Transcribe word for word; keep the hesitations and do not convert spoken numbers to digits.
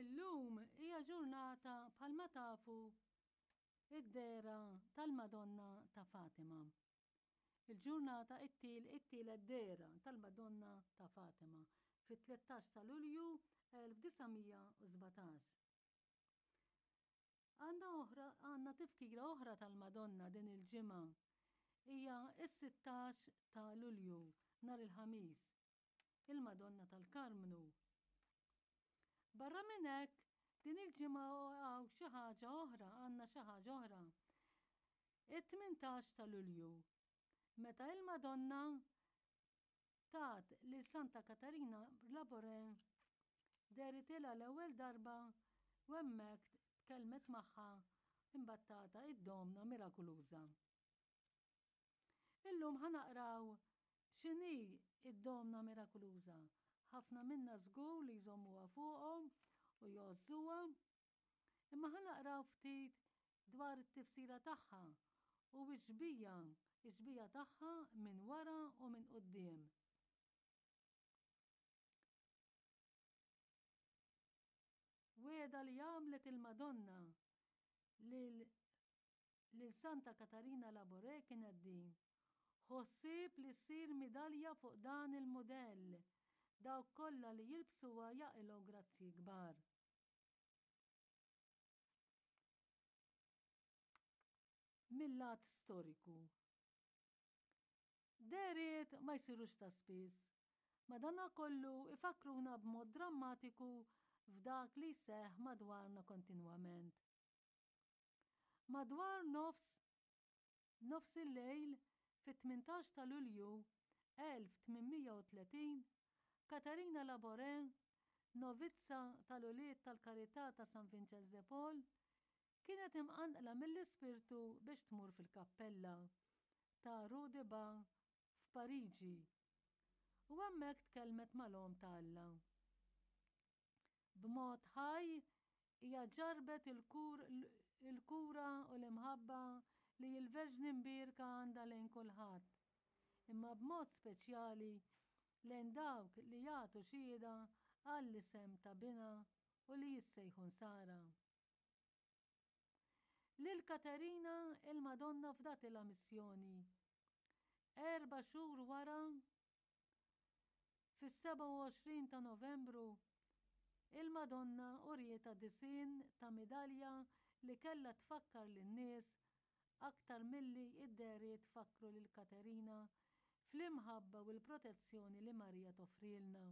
Illum hija ġurnata bħalma tafu id-dehra tal-Madonna ta' Fatima. Il-ġurnata it-til it-tielet dehra tal-Madonna ta' Fatima fit-tlettax ta' Lulju elf disa' mija u sbatax. Għandna oħra, għandna tifkira oħra tal-Madonna din il-ġimgħa. Hija s-sittax ta' Lulju, nhar il-Ħamis, il-Madonna tal-Karmnu. Barra minn hekk, din il-ġimgħa hawn xi ħaġa oħra, għandna xi ħaġa oħra. It-tmintax ta' Lulju, meta il-Madonna tat lil Santa Katarina Labouré dehritilha l-ewwel darba u hemmhekk tkellmet magħha imbattata id-Domna Mirakuluża. Illum ħa naqraw x'inhi id-Domna Mirakuluża. Ħafna minna żgur li jżommuha fuqhom u jgħożżuha, imma ħa naqraw ftit dwar it-tifsira tagħha u x-xbija, ix-xbija tagħha minn wara u minn quddiem. Wegħda li għamlet il-Madonna lil, lil Santa Katarina Labouré kienet din: ħossieb li ssir midalja fuq dan il-mudell, dawk kollha li jilbsuha jaqilgħu grazzji kbar. Mil-lat storiku. Dehriet ma jsirux ta' spiss, madanakollu ifakruna b'mod drammatiku f'dak li jseħħ madwarna kontinwament. Madwar nofs nofs il-lejl fit-tmintax ta' Lulju elf tmien mija u tletin, Katarina Labouré, novizza tal-Ulied tal-Karità ta' San Vincenz de Paul, kienet imqanqla mill-Ispirtu biex tmur fil-kappella ta' Rue de Bain f'Pariġi u hemmhekk tkellmet mal-Omm ta' Alla. B'mod ħaj hija ġarbet il-kura u l-imħabba li l-Verġni Mbierka għandha lejn kulħadd, imma b'mod speċjali lejn dawk li jagħtu xhieda għall-isem ta' Binha u li jissejħu Nsara. Lil Katerina il-Madonna fdatilha missjoni. Erba' xhur wara, fis-sebgħa u għoxrin ta' Novembru, il-Madonna urietha disinn ta' midalja li kellha tfakkar lin-nies aktar milli id-dehriet fakkru lil Katerina fl-imħabba u l-protezzjoni li Marija toffrilna.